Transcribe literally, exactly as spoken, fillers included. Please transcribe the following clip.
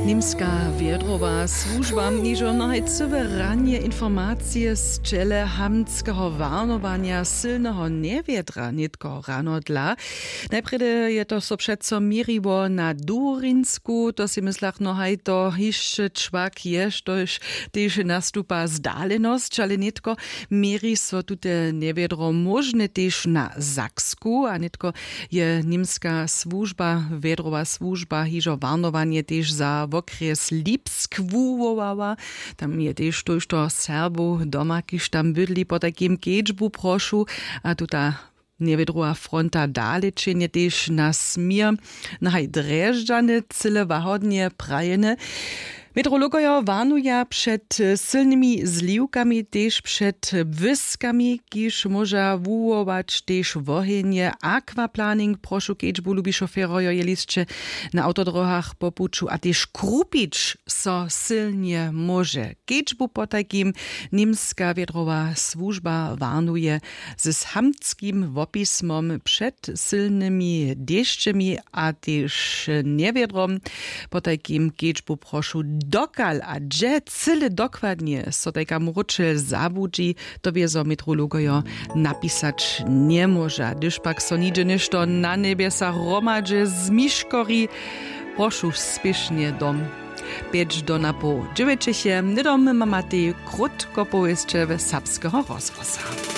Nimska wjedrowa słužba hižo nohaj cyłe ranje informacije z ćele hamtskeho warnowanja sylneho njewjedra nětko rano dla. Najprjedy je to so přeco měriło na durinsku, to sej myslach nohaj to hišće čwak je štož tež nastupa zdalenosć, ale nětko měri so tute njewjedro móžne tež na saksku a nětko je nimska słužba wjedrowa słužba hižo warnowanje tež za wokrjes lipsk wuwołała. Tam je tež tójšto serbow doma kiž tam bydli potajkim kedźbu prošu a tuta njewědruha fronta dale čenje tež na směr na haj drježdźany cyle łahodnje prajene. Meteorologojo warnuja před sylnymi zliwkami tež před błyskami kiž móža wuwołać tež wohenje aquaplaning prošu kedźbu lubi šofěrojo jeli sće na awtodrohach po puću a tež krupić so sylnje móže kedźbu potajkim. Nimska wjedrowa słužba warnuje z hamtskim wopismom před sylnymi dešćemi a tež njewjedrom. Potajkim kedźbu prošu dokal a dźe cyle dokładnje so tajka mróčel zabudźi, to wězo meteorologojo napisać njemóža hdyž pak so nihdźe něšto na njebjesach hromadźe zmiškori, prošu spěšnje dom. Pjeć do napoł dźewjećeche hnydom mamatej krótkopowěsće serbskeho rozhłosa.